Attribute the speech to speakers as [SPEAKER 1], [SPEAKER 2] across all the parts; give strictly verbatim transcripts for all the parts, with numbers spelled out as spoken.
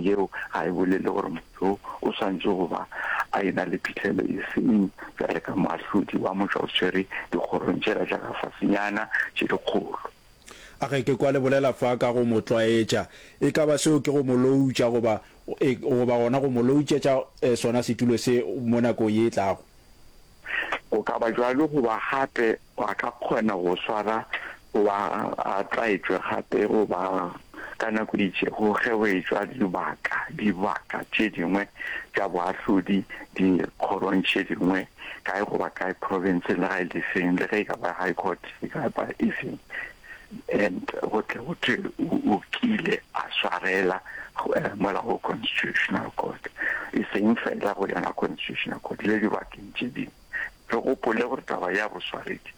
[SPEAKER 1] yeo ga e bolele gore motho o swanetše go ba a e-na le phihlelo e feng bjale ka moahlodi wa motšwaoswere dikgorong tšela tša ka fasenyana tše dikgolo.
[SPEAKER 2] A Ge ke kwa le bolela fa ka go mo tlwaetša, e ka ba seo ke go mo loutša goba, e, goba gona go mo loutšetša sona setulo se mo nakong ye e tlago?
[SPEAKER 1] Go ka ba bjalo goba gape a ka kgona go swara goba a tlwaetšwe gape goba ka nako e itšego ge go etšwa dibaka, dibaka tše dingwe tša boahlodi dikgorong tše dingwe kae goba kae profenseng le ga e le feng, le ge e ka ba High Court e ka ba efeng, and go tle go thwe o kile a swarela mola go Constitutional Court, e seng fela go yona Constitutional Court le dibakeng tše dingwe. Re gopole gore taba ya boswaredi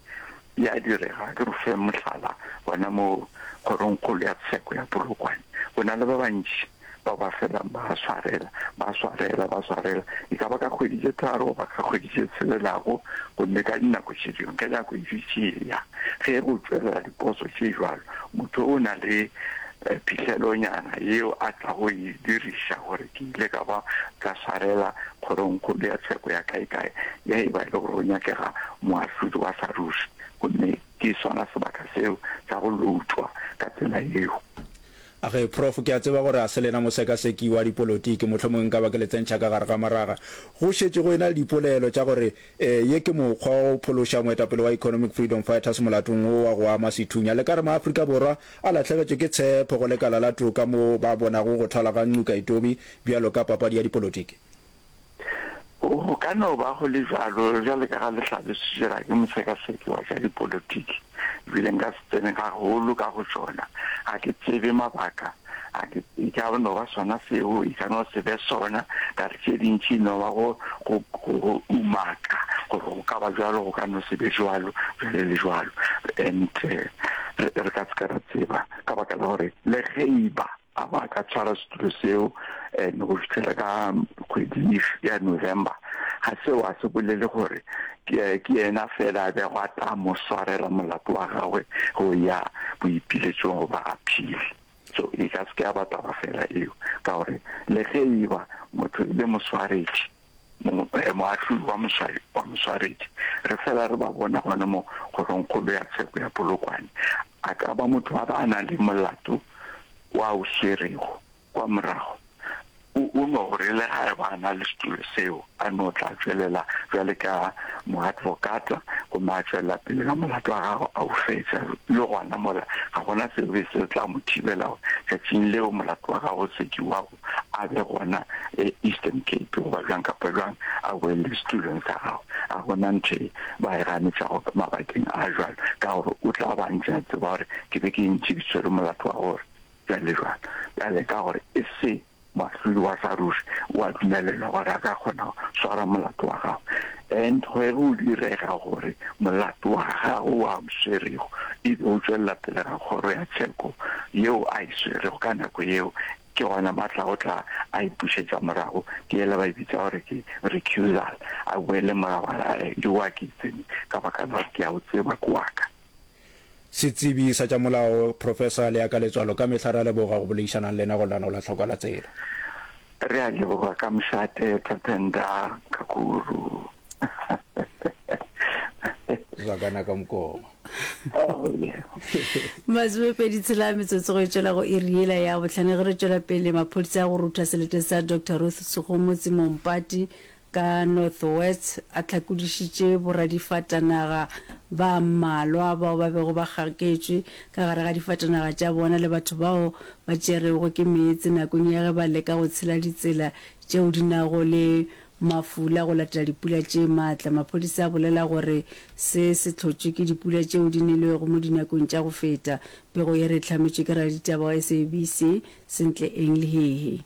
[SPEAKER 1] e a direga. Ke re fe mohlala, gona mo Kgorongkgolo ya Tsheko ya Polokwane, go na le ba bantši ba ba felang ba swarela, ba swarela, ba swarela, e ka ba ka kgwedi tše tharo goba ka kgwedi tše tshelelago, gomme ka dinako tše dingwe, ge nako e dutše e eya, ge go tšwelela diposo tše bjalo, motho o na le phihlelonyana yeo a tlago e diriša gore ke ile ka ba ka swarela Kgorongkgolo ya Tsheko ya kaekae ge e ba e le gore go nyakega moahlodi wa sa ruri, gomme ke sona sebaka seo sa go loutwa ka tsela yeo.
[SPEAKER 2] A ge, Prof, ke a tseba gore a se lena mosekaseki wa dipolotiki, mohlomongwe nka ba ke le tsentšha ka gare ga maraga. Go šetše go ena le dipolelo tša gore ye ke mokgwa wa go phološa moetapele wa Economic Freedom Fighters molatong wo wa go ama sethunya. Le ka re maAfrika Borwa a lahlegetšwe ke tshepo go lekala la toka moo ba bonago go thwala ga Ngcukaitobi bjalo ka papadi ya dipolotiki?
[SPEAKER 1] Go ka no ba go le bjalo, bjalo ka ga le hlalositše, ga ke mosekaseki wa tša dipolotiki, ebile nka se tsene gagolo ka go tšona. Ga ke tsebe mabaka, ga ke, e ka no ba sona seo, e ka no se be sona, ka re tše dintši e no ba go, go, go, go umaka gore go ka ba bjalo, go ka no se be bjalo, bjale le bjalo. And re, re ka se ke ra tseba, ka baka la gore le ge e ba A ba ka tshwara setulo seo and go fihlela ka kgwedi ya November, ga seo a se bolele gore ke ke yena fela a bego a tla mo swarela molato wa gagwe go ya boipiletšong goba appeal. So e ka se ke ya ba taba fela eo, ka gore le ge e ba motho e le moswaredi, moahlodi wa wa moswaredi, re fela re ba bona gona mo kgorongkgolo ya tsheko ya Polokwane, a ka ba motho a ba a na le molato wa o swerego kwa morago, o, o no gore le ga e ba a na le setulo seo, a no tla tšwelela bjale ka moadvokata gomme a tšwelela pele ka molato wa gagwe a o fetša. Le gona mola ga gona sebe se tla mo thibela gore tšatšing leo molato wa gagwe o sekiwago a be gona Eastern Cape goba bjang kapa bjang a boele setulong sa gagwe. Ga gona ntho e ba e ganetšago mabakeng a jwalo, ka gore o tla ba ntše a tseba gore ke be ke ntše ke tshwere molato wa gore bjale jwalo. Bjale ka gore e se moahlodi wa sa ruri, o a dumelelwa gore a ka kgona go swara molato wa gagwe. And ge go direga gore molato wa gagwe o a o swerego e be o tšwelela pele ga kgoro ya tsheko yeo a e swerego ka nako yeo, Ke gona matla o tla a ipušetša morago, ke yela ba e bitša gore ke recusal, a boele morago a re, Ke wa ke itseng ka baka la gore ke a o tseba, ke wa ka.
[SPEAKER 2] Setsebi sa tša molao, Professor Leaka Letswalo, ka mehla re a leboga go boledišanang le lena go lenaneo la Tlhokwa la Tsela.
[SPEAKER 1] Re a leboga ka mošate, Tatenda Kakuru.
[SPEAKER 2] Zwakana ka mokoma.
[SPEAKER 1] Oh, yeah.
[SPEAKER 3] Masomepedi tshela metsotso go e tšwela go iri yela ya bohlano ge re tšwela pele maphodisa a go rutha selete sa Doctor Ruth Segomotsi Mompati ka North West a hlakodišitše boradifatanaga ba mmalwa bao ba bego ba gaketšwe ka gare ga difatanaga tša bona le batho bao ba tšerwego ke meetse nakong ya ge ba leka go tshela ditsela tšeo di nago le Mafula go latela dipula tše maatla. Maphodisa a bolela gore se se hlotšwe ke dipula tšeo di nelwego mo dinakong tša go feta. Pego ye re e hlametšwe ke raditaba wa SABC, Sentle Eng Lehehe.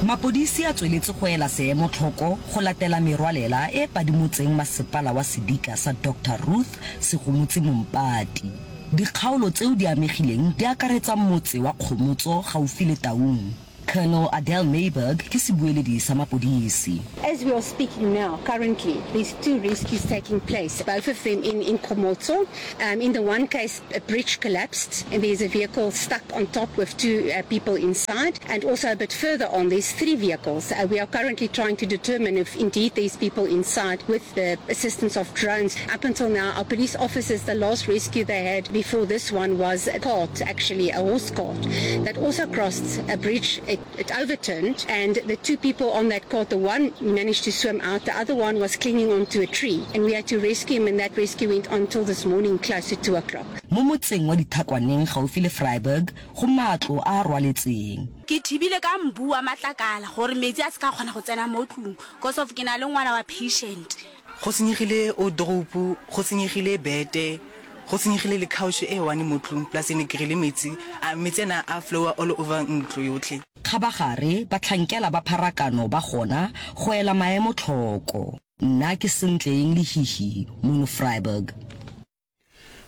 [SPEAKER 4] Mapodisi a tsweletše go ela seemo tlhoko go latela merwalela e padimotseng masepala wa sedika sa Doctor Ruth Segomotsi Mompati. Dikgaolo tseo di amegileng di akaretsa motse wa Kgomotso gaufi le Taung. Colonel Adele Myburgh ke sebueledi sa mapodisi.
[SPEAKER 5] As we are speaking now, currently, there's two rescues taking place, both of them in in Kgomotso. Um, in the one case, a bridge collapsed and there's a vehicle stuck on top with two uh, people inside. And also a bit further on, there's three vehicles. Uh, we are currently trying to determine if indeed there's people inside with the assistance of drones. Up until now, our police officers, the last rescue they had before this one was a cart, actually a horse cart, that also crossed a bridge. It, it overturned, and the two people on that cart, the one managed to swim out, the other one was clinging onto a tree, and we had to rescue him, and that rescue went on till this morning close to two o'clock.
[SPEAKER 4] Mo motseng wa Dithakwaneng gaufi le Vryburg go matlo a a rwaletseng.
[SPEAKER 6] Ke thibile ka mbu wa matlakala gore metsi a se ka kgona go tsena mo tlung cause of ke na le ngwana wa patient.
[SPEAKER 7] Go senyegile wardrobe, go senyegile bete, go senyegile le couch e one mo tlung plus ne ke kry-ile metsi, metsi a na a flower all over ntlo yotlhe.
[SPEAKER 4] Kgabagare, bahlankela ba pharakano ba gona go ela maemo tlhoko. Nna ke Sentleeng Lehihi mono Vryburg.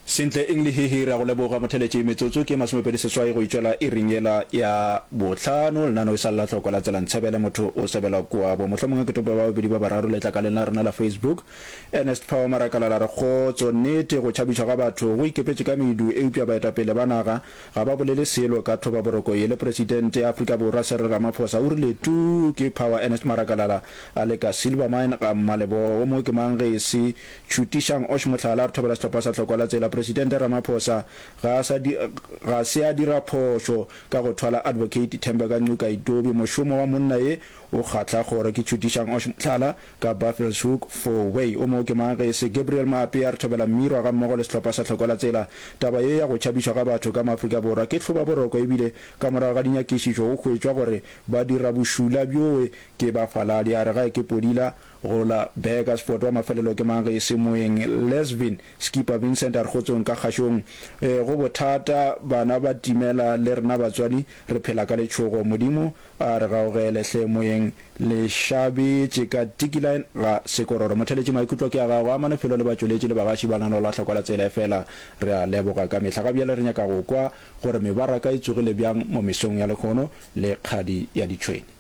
[SPEAKER 2] Sentle eng Lehihi, re a go leboga motheletši. Metsotso ke masomepedi seswai go itšwela iring yela ya bohlano. Lenaneo e sa le la hlokwa la tsela ntshebele motho o sebela kuabo. Mohlomongwe ke tope ba babedi ba bararo letlakaleng la rena la Facebook. Ernest Power Marakalala a re, Kgotso, nnete go tšhabišwa ga batho go ikepetše ka medu eupša baetapele ba naga ga ba bolele selo ka thobaboroko ye. Le Presidente ya Afrika Borwa Cyril Ramaphosa o rile tuu ke Power Ernest Marakalala a le ka Silvermine ga Mmalebogo. O mongwe ke mang ge e se Tšhutišang Osh Mohlala a re thobela sehlopha sa Hlokwa la Tsela. Presidente Ramaphosa ga a sa ga se a dira phošo ka go thwala Advocate Thembeka Ngcukaitobi. Mošomo wa monna ye o kgahla kgoro. Ke Tšhutišang Osh Mohlala ka Buffelshoek Four Way. O mongwe ke mang ge e se Gabriel Maape a re thobela Mmirwa gammogo le sehlopha sa Hlokwa la Tsela. Taba ye ya go tšhabišwa ga batho ka mo Afrika Borwa ke hlobaboroko ebile ka morago ga dinyakišišo go hwetšwa gore badirabošula bjoe ke bafaladi. A re gae ke podila go la Burgersfort. Wa mafelelo ke mang ge e se moeng Lesvin Skipper Vincent a re kgotsong ka kgašong. Go bothata bana ba timela le rena batswadi re phela ka letšhogo. Modimo a re gaogele hle moeng le šabetše ka Tikiline ga Sekororo. Motheletši maikutlo ke a gago a manefelo le batšweletši le bagaši ba lenaneo la Hlokwa la Tsela efela re a leboga ka mehla. Ga bjale re nyaka go kwa gore mebaraka e tsogile bjang mo mesong ya lehono le kgadi ya ditšhwene.